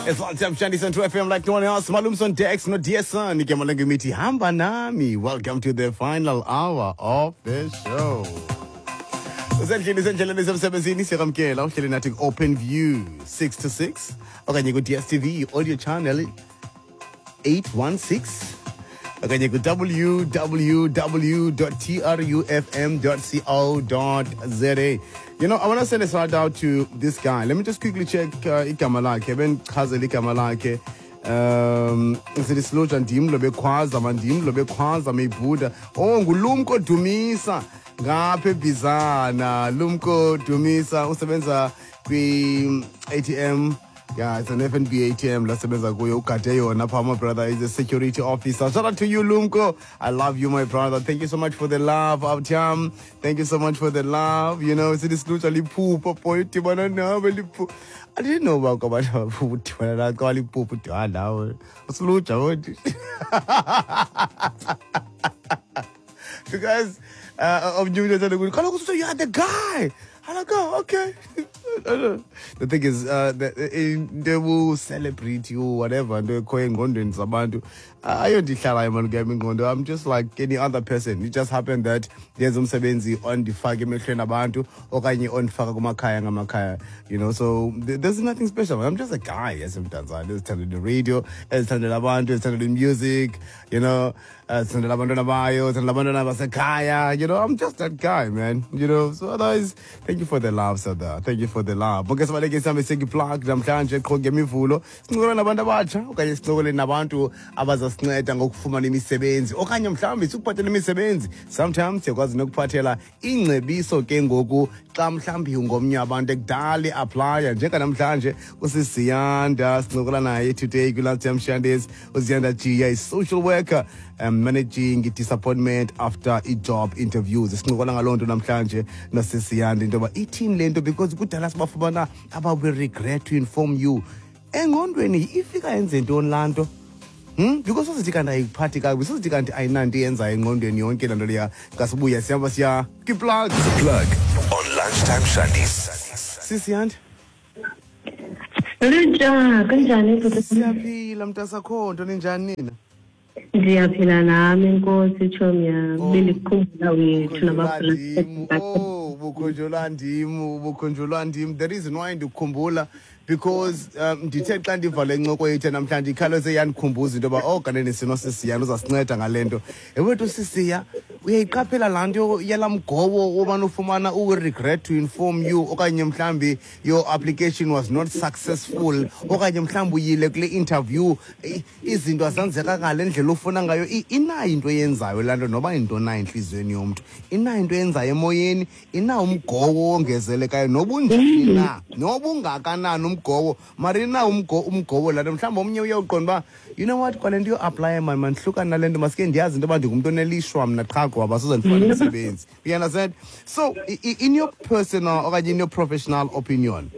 It's Lunchtime Shandies on True FM like no one else. Malumson Dex no dear son. Igama lengimithi hamba nami. Welcome to the final hour of the show. Usendlini, usendleleni, usemsebenzini, siyakwamkela. Uhleli nathi ku-Open View 6 to 6 okanye ku-DStv audio channel 816 okanye ku-www.trufm.co.za. I want to send a shout out to this guy. Let me just quickly check igama lakhe, bendichazela igama lakhe. Sithi silutsha, ndim lo bekhwaza, mandim lo bekhwaza meyibhuda. Oh, nguLumko Dumisa ngapha eBizana. Lumko Dumisa usebenza kwi-ATM. Yeah, it's an FNB ATM lasebenza kuyo, ugade yona pha. My brother is a security officer. Shout out to you, Lumko. I love you, my brother. Thank you so much for the love, Abtiam. Thank you so much for the love. Sithi silutsha liphupha boy, udibana nawe liphupha. I didn't know about abantu udibana nawe xa liphupha, udibana nawe. Usilutsha wonke. Because omnye umntu ethanda ukuthi kaloku you are the guy. I'm like, "Oh, okay." The thing is, into celebrity or whatever, into ekhoyo engqondweni zabantu, ayonto ihlalayo mani kuyam ingqondo. I'm just like any other person. It just happened that ndenza umsebenzi ondifaka emehlweni abantu okanye ondifaka kumakhaya ngamakhaya. So there's nothing special. I'm just a guy esemdantsane ezithandela i-radio, ezithandela abantu, ezithandela i-music, ezithandela abantwana bayo, ezithandela abantwana basekhaya. I'm just that guy, man. So otherwise, thank you for the love, Sada. Thank you for the love. Okay, sibaleke sihambe seki-plug namhlanje qho ngeMivulo. Sincokole nabantu abatsha okanye sincokole nabantu abazasinceda ngokufumana imisebenzi okanye mhlawumbi sikuphathela imisebenzi. Sometimes siyakwazi nokuphathela ingcebiso ke ngoku xa mhlawumbi ungomnye wabantu ekudala i-applya, njenganamhlanje usisiyanda sincokola naye today kwi-Lunchtime Shandies. UZiyanda Jiya is social worker, managing disappointment after i-job interviews. Sincokola ngaloo nto namhlanje nosisiyanda, into yoba ithini le nto, because kudala sibafumana aba "we regret to inform you". Engqondweni ifika yenze ntoni laa nto? Because sozithi kanti ayikuphathi kakubi, sozithi kanti ayinanto iyenzayo engqondweni yonke laa nto leya. Xa sibuya sihamba siya kwi-plug. The Plug on Lunchtime Shandies. Sisiyanda. Lutsha, kunjani, bhuti? Siyaphila, mntasakho, nto ninjani nina? Ndiyaphila nami, inkosi, tshomi yam. Oh. Bendikukhumbula wethu. Bukhonjulwa ndim. Oh, bukhonjulwa ndim, bukhonjulwa ndim. The reason why ndikukhumbula, because ndithe xa ndiva le ncoko yethu namhlanje, ikhawuleze yandikhumbuza into yoba, oh, kanene sinosisiyana uzasinceda ngale nto. Ewethu sisiya, uyayiqaphela laa nto yalaa mgowo wobana ufumana "we regret to inform you" okanye mhlawumbi "your application was not successful" okanye mhlawumbi uyile kule interview, izinto azenzeka ngale ndlela ufuna ngayo. Inayo into eyenzayo laa nto, noba yinto na entliziyweni yomntu, inayo into eyenzayo emoyeni, inawo umgowo wongezelekayo, nobunjani na, nobungakanani umgowo, mara inawo umgowo laa nto. Mhlawumbi omnye uyawuqonda uba, you know what, kwale nto yo-applya mani, mandihlukane nale nto, masike ndiyazi into yoba ndingumntu onelishwa mna qha, ngoba soze ndifumane umsebenzi. You understand? So in your personal okanye in your professional opinion,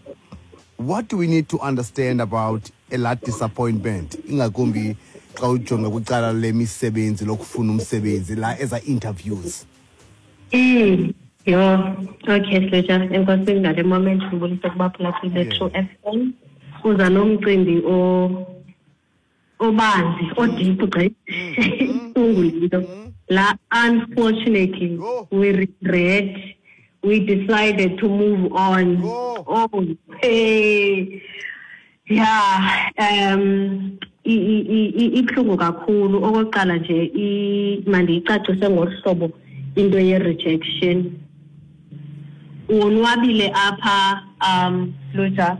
what do we need to understand about elaa disappointment, ingakumbi xa ujonga kwicala lemisebenzi, lokufuna umsebenzi, la eza interviews? Yho, okay, Slutsha, enkosi ngale moment. Ndibulise kubaphulaphuli be-True FM. Uza nomcimbi obanzi, o-deep gqithi. Ibuhlungu into. La "unfortunately, Oh. we regret, we decided to move on." Oh. Oh, hey. Yeah, ibuhlungu kakhulu. Okokuqala nje, mandiyicacise ngohlobo into ye-rejection. Wonwabile apha, Lutsha,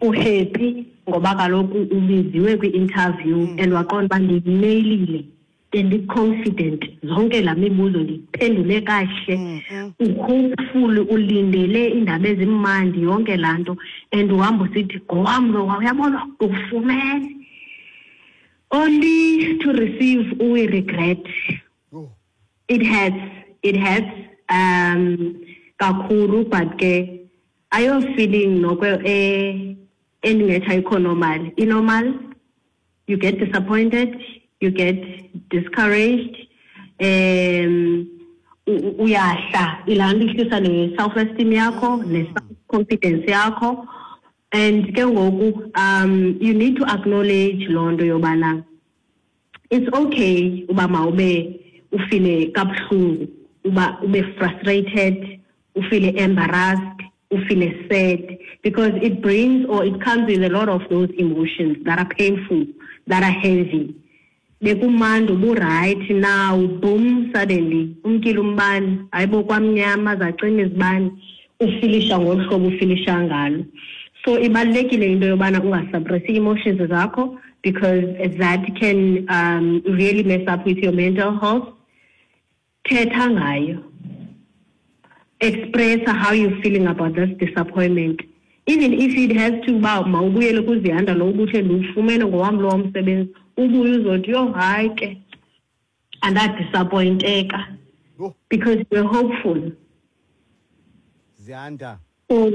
u-happy ngoba kaloku ubiziwe kwi-interview and waqonda uba ndiyineyilile, bendi-confident, zonke laa mibuzo ndiyiphendule kahle. U-hopeful, ulindele iindaba ezimandi, yonke laa nto, and uhamba usithi, "Ngowam lo, uyabona, ufumene," only to receive "we regret". Oh. It hurts, it hurts kakhulu, but ke ayo feeling noko endingethi ayikho normal. I-normal, you get disappointed, you get discouraged, uyahla, ilaa nto ihlisa ne-self esteem yakho, ne-self confidence yakho. And ke ngoku you need to acknowledge loo nto yobana it's okay uba mawube ufile kabuhlungu, uba ube frustrated, ufile embarrassed, ufile sad, because it brings or it comes with a lot of those emotions that are painful, that are heavy. Bekumandi, uburayithi, now boom, suddenly umkile umbane, hayibo, kwamnyama, zacima izibane, ufilisha ngolu hlobo ufilisha ngalo. So ibalulekile into yobana ungasuppressi ii-emotions zakho, because that can really mess up with your mental health. Thetha ngayo, express how you're feeling about this disappointment, even if it has to uba mawubuyele kuZiyanda lo ubuthe ndiwufumene ngowam lo msebenzi, ubuye uzothi, "Yho, hayi ke, andadisappointeka," Yho. because you're hopeful. Ziyanda. So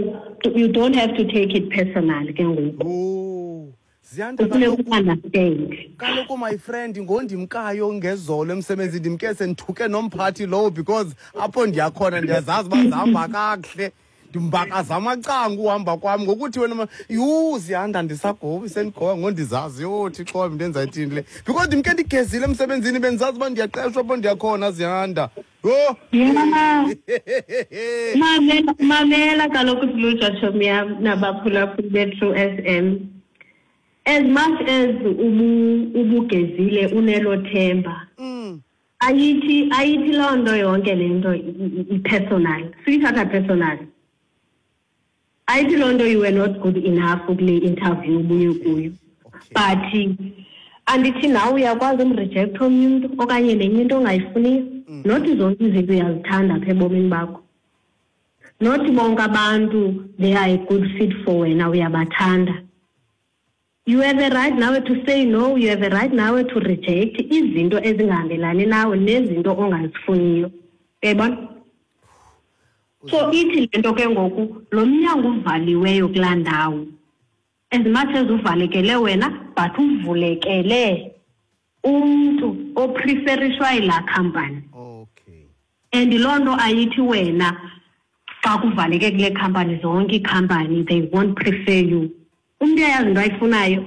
you don't have to take it personal ke ngoku. Oh, Ziyanda. Kufuneka Kaloku u-understand. Kaloku, my friend, ngondimkayo ngezolo emsebenzini, ndimke sendithuke nomphathi lowo, because apho ndiyakhona ndiyazazi uba zihamba kakuhle, ndimbakaza amacango uhamba kwam ngokuthi wena yhu, Ziyanda, ndisagobi sendigoba ngondizazi. Yho, Thixo wam, ndenza ithini le? Because ndimke ndigezile emsebenzini, bendizazi uba ndiyaqeshwa apho ndiyakhona, Ziyanda, yho. Yeah. Mamela, mamela kaloku, Silutsha, tshomi yam nabaphulaphuli be-True FM, as much as ubugezile unelo themba, ayithi loo nto yonke le nto i-personal, suyithatha personal. Ayithi loo nto you were not good enough kule interview ubuye kuyo. But andithi nawe uyakwazi umrejecta omnye umntu okanye nenye into ongayifuniyo? Not zonke izinto uyazithanda apha ebomini bakho. Not bonke abantu they are a good fit for wena, uyabathanda. You have a right nawe to say no, you have a right nawe to reject izinto ezingahambelani nawe nezinto ongazifuniyo, uyayibona? So ithi le nto ke ngoku, lo mnyango uvaliweyo kulaa ndawo, as much as uvalekele wena, but uvulekele umntu opreferishwa yilaa company. And loo nto ayithi wena xa kuvaleke kule company, zonke iikhampani they won't prefer you. Umntu uyayazi into ayifunayo,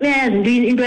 uyayazi into.